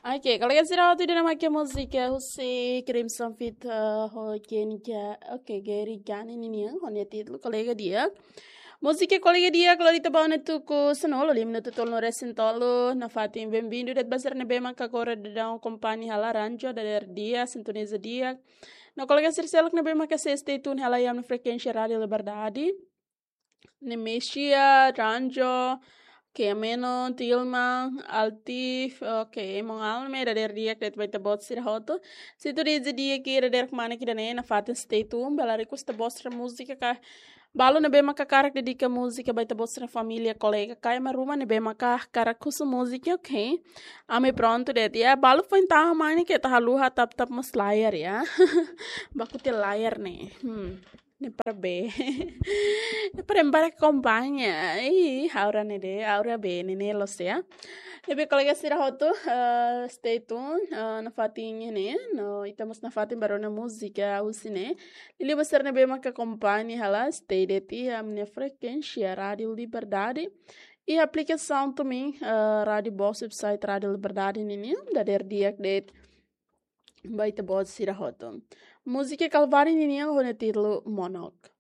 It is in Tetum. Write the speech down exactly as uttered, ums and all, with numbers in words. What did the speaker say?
Oke, kolega sira hotu, ida-ne'e mak múzika husi Crimson feat, eh, ho Kenny Ga-, oke, Gary Gani ninian, ho nia títulu Kolega Di'ak. Múzika Kolega Di'ak, lori ita ba ona tuku sanulu, lima minutu tolunulu-resin-tolu, nafatin bem-vindo de'it ba sira ne'ebé maka agora daudaun akompaña hela, Ranjo, dadeer di'ak, sintoniza di'ak. No kolega sira seluk ne'ebé maka sei stay tune hela iha ami-nia frekuénsia Rádio Liberdade. Nemesia, Ranjo, Kemeno, Tilma, Altif, oke, Mon Alme, dadeer di'ak de'it ba ita-boot sira hotu. Sintoniza di'ak iha dadeer kmanek ida-ne'e, nafatin stay tune, bele request ita-boot sira múzika ka, balu ne'ebé maka hakarak dedika múzika ba ita-boot sira família, kolega, ka ema ruma ne'ebé maka hakarak husu múzika, oke. Ami prontu de'it, ya, balu foin tahan mai ne'e keta haluha tap-tap mós layar, ya. Baku tiha layar ne'e. Hmm. Ne'e para bee. Ne'e para ema akompaña. Ih, aura ne'e de'it, aura bee ne'e, ne'e loos, ya. Ne'ebé kolega sira hotu, eh, stay tune, eh, nafatin ne'e, no ita mós nafatin ba rona múzika husi ne'e. Liuliu ba sira ne'ebé maka akompaña hela, stay de'it iha ami-nia frekuénsia Rádio Liberdade. Iha aplikasaun também, eh, Rádio Boss, website Rádio Liberdade ninian, dadeer di'ak de'it ba ita-boot sira hotu. Múzika Kalvário ninian ho nia títulu Monok.